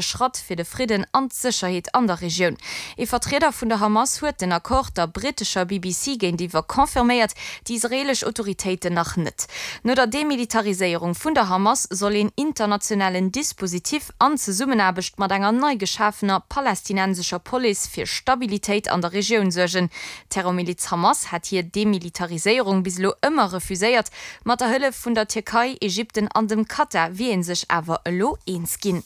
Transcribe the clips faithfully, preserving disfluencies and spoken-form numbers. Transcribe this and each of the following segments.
Schratt fir de Fridden an d'Sécherheet an der Regioun. Ee Vertrieder vun der Hamas huet den Accord der brittescher B B C géintiwwer confirméiert, déi israeelesch Autoritéiten nach net. No der Demilitariséierung vun der Hamas soll een internationalen Dispositif an Zesummenaarbecht mat enger nei geschafener palästinensescher Police fir Stabilitéit an der Regioun suergen. D'Terrormiliz Hamas hat hir Demilitariséierung bis elo ëmmer refuséiert. Mat der Hëllef vun der Tierkei, Ägypten an dem Katar wier ee sech awer elo eens ginn.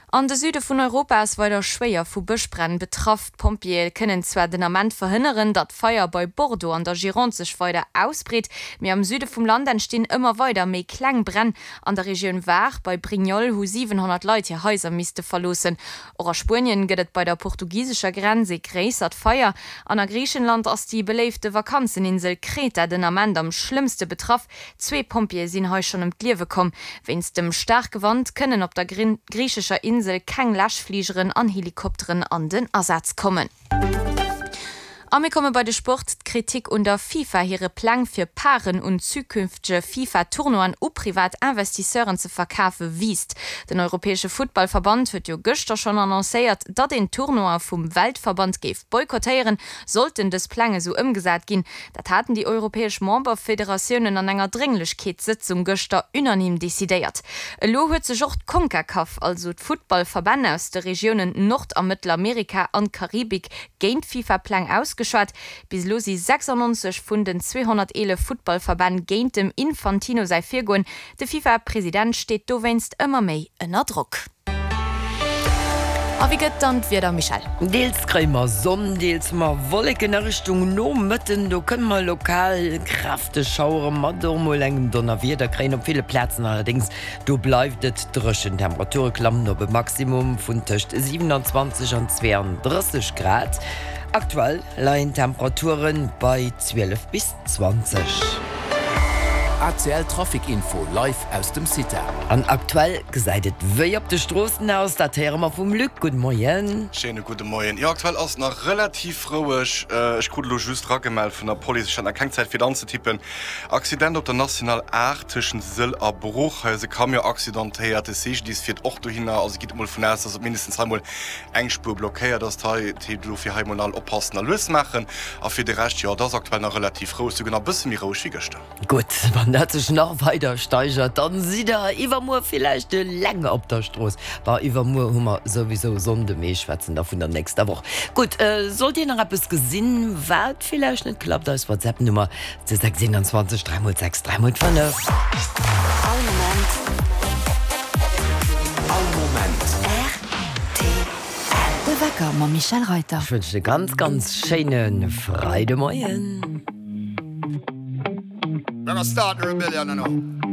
An de Süde vun Europa ass weider schwéier vu Bëschbränn betraff. D'Pompjeeë kënnen zwar den Ament verhënneren, datt d'Feier bei Bordeaux an der Gironde sech weider ausbreet, mee am Süde vum Land entstinn ëmmer weider méi kleng Bränn. An der Regioun Var bei Brignoles hu siwenhonnert Leit hir Haiser misste verloossen. Och a Spuenien gëtt et bei der portugisescher Grenz ee gréissert Feier. An a Griichenland ass déi beléifte Vakanzeninsel Kreta den Ament am schlëmmste betraff. Zwee Pompjeeë sinn hei schonn ëm d'Liewe komm. Wéinst dem staarke Wand kënnen op der griichescher Insel keng Läschfligeren an Helikopteren an den Asaz kommen. A mir komme bei de Sport. D'Kritik un der FIFA hire Pläng fir Paren un zukünftege FIFA-Tournoien u privat Investisseuren ze verkafe wiisst. Den europäesche Futtballverband huet jo gëschter schonn annoncéiert, datt een d'Tournoie vum Weltverband géif boykottéieren, sollten dës Pläng esou ëmgesat ginn. Dat haten déi europäesch Memberfederatiounen an enger Drénglechkeetssëtzung gëschter unanime decidéiert. Elo huet sech och d'Concacaf, also d'Futtballverbänn aus de Regiounen Nord a Mëttelamerika an Karibik, géint d'FIFA-Pläng ausgeschwat. Bis elo si sechsannonzeg vun den zweehonnerteelef Futtballverbänn géint dem Infantino säi Virgoen. De FIFA-President steet dowéinst ëmmer méi ënner Drock. A wéi gëtt dann d'Wieder, Michèle? Deels kréie mer Sonn, deels hu mer Wolleken. A Richtung Nomëtten, do kënne mer lokal kräfteg Schauere mat och mol engem Donnerwieder kréien. Op ville Plazen allerdéngs, do bleift et dréchen. D'Temperature klammen op e Maximum vun tëscht siewenanzwanzeg an zweeandrësseg Grad. Aktuell leien d'Temperature bei zwielef bis zwanzeg. A C L Trafic Info live aus dem CITA. An aktuell gesäit et wéi op de Stroossen aus? Dat héiere mer vum Luc. Gudde Moien. Schéine gudde Moien. Jo, aktuell ass et nach relativ roueg. Ech krut elo just ragemellt vun der Police, ech hat nach keng Zäit fir et anzetippen, Accident op der National aacht tëschent Sëll a Bruch. Hei ass e Camion accidentéiert. De C G D I S fiert och dohinner. Also gitt emol vun aus, dass op mindestens hei mol eng Spuer blockéiert ass. Hei heescht elo fir hei mol all oppassen a lues maachen. A fir de Rescht, jo, et ass aktuell nach relativ roueg, souguer nach e bësse méi roueg wéi gëschter. Gutt, wann dat sech nach weider steigert, dann sidd der iwwermuer villäicht eleng op der Strooss. Bah, iwwermuer hu mer souwisou Sonnde, mee ech schwätzen da vun der nächster Woch. Gutt, sollt dir nach eppes gesinn, wat villäicht net klappt, eis WhatsApp-Nummer sechs einundzwanzeg dräi mol sechs dräi mol fënnef. All Moment. All Moment. R T L. De Wecker mam Michèle Reyter. Ech wënschen e ganz, ganz schéine Freidemoien. We're gonna start the rebellion, you know.